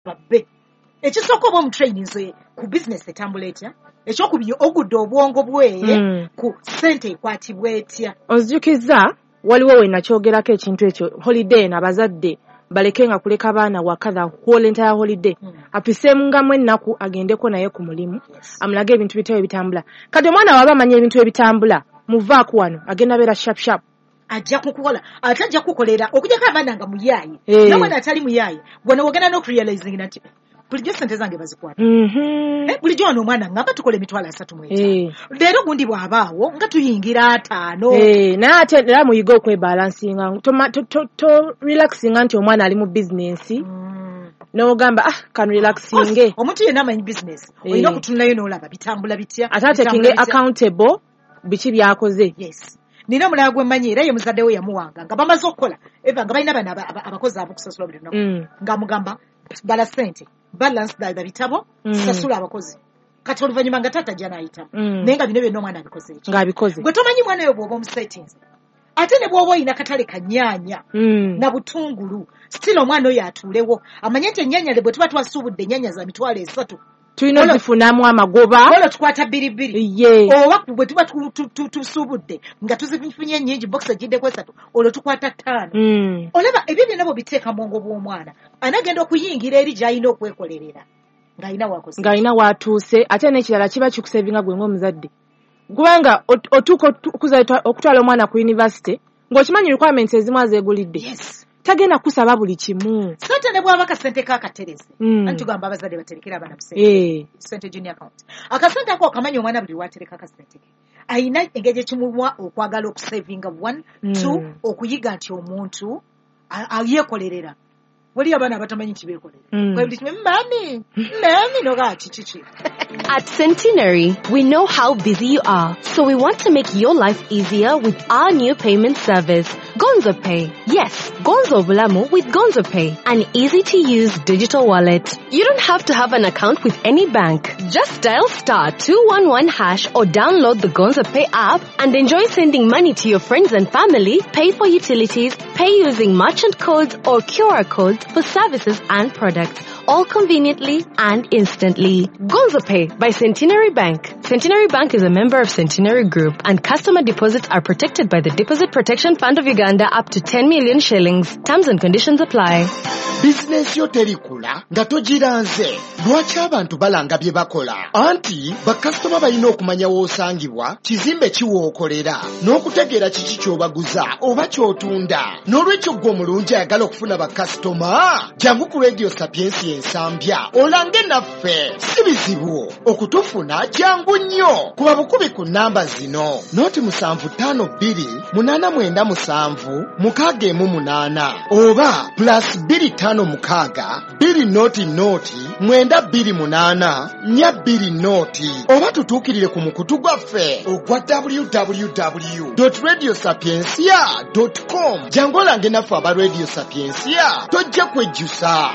Babbe. Ekisooka, oba omutraininze ku bizinesi etambula etya. Ekyokubiri, ogudde obwongo bwe ku ssente ekwatibwa etya. Onzijukiza, waliwo we nakyogerako ekintu ekyo. Holiday eno, abazadde baleke nga kuleka baana waka the whole entire holiday. Apiseemungamu ennaku, agendeko naye ku mulimu, amulage ebintu bitya ebitambula. Kati omwana waba amanya ebintu ebitambula, muvaako wano agenda beera sharp sharp. Ajja kukukola, ate ajja kukolera okujjako abaana nga muyaaye. Nomwana atali muyaaye, gwe wogenda n'okurealizing nti bulijjo sente zange bazikwata. Bulijjo wano omwana ngamba tukola 35,000. Leero gundi bw'abaawo nga tuyingira 50. Naye ate era muyige okwebalansinga. To relaxinga nti omwana ali mu bizinensi, n'ogamba, "Ah, kan relaxinge." Omuntu yenna amanyi bizinesi, olina okutunulayo n'olaba bitambula bitya. Ate atekinge bitambula bitya. Accountable biki byakoze. Yes, nina omulala gwe mmanyi, era ye muzadde we yamuwanga nga bamaze okukola, eva nga balina bano abakozi abokusasula buli lunaku, ng'amugamba, "Bala sente, balance the bitabo, sasula abakozi." Kati oluvannyuma nga taata ajja n'ayitamu, naye nga bino byonna omwana abikoze eki? Ng'abikoze. Gwe tomanyi mwana oyo bw'oba omusetinze, ate ne bw'oba oyina katale kanyaanya na butungulu, still omwana oyo atuulewo amanye nti ennyaanya le bwe tuba twasuubudde ennyaanya za 30,000, tulina ozifunamu amagoba. Olwo tukwata bbiri bbiri. Oba bwe tuba tusuubudde nga tuzifunye ennyingi, bokisi egiddeko esatu, olwo tukwata ttaano. Olaba ebyo byonna bw'obiteeka mu bwongo bw'omwana, anagenda okuyingira eri gy'alina okwekolerera ng'alina wakoze. Ng'alina watuuse. Ate n'ekirala, kiba kikusevinga gwe ng'omuzadde, kubanga otuuka okutwala omwana ku university ng'okimanyi requirements ezimu azeegulidde. Tagenda kusaba buli kimu. Sente ne bw'aba akasente k'akatereze, anti tugamba abazadde baterekere abaana mu sente, sente junior account. Akasente ako okamanyi omwana buli lwatereka akasente ke, ayina engeri ekimuwa okwagala okusavinga, one. Two, okuyiga nti omuntu yeekolerera. Waliyo abaana abatamanyi nti beekolera. Buli kimu, "Mummy, mummy," noga kiki. At Centenary, we know how busy you are, so we want to make your life easier with our new payment service, Gonzo Pay. Yes, Gonzo Bulamu with Gonzo Pay, an easy to use digital wallet. You don't have to have an account with any bank. Just dial *211# or download the Gonzo Pay app and enjoy sending money to your friends and family, pay for utilities, pay using merchant codes or QR codes for services and products, all conveniently and instantly. Gonzo Pay by Centenary Bank. Centenary Bank is a member of Centenary Group, and customer deposits are protected by the Deposit Protection Fund of Uganda up to 10 million shillings. Terms and conditions apply. Bizinensi yo terikula nga togiranze. Lwaki abantu balanga bye bakola? Anti bakasitoma balina okumanya w'osangibwa, kizimbe kiwookolera, n'okutegeera kiki ky'obaguza oba ky'otunda. N'olwekyo ggwe omulungi ayagala okufuna bakasitoma, jangu ku Radio Sapiensi Ensambya olange naffe. Si bizibu okutufuna, jangu nnyo. Kuba bukubi ku nnamba zino: 0752 897 618 oba +256 200 928 420, oba tutuukirire ku mukutu gwaffe ogwa www radio sapiencia com. Jangu olange naffe aba Radio Sapiencia, tojja kwejjusa.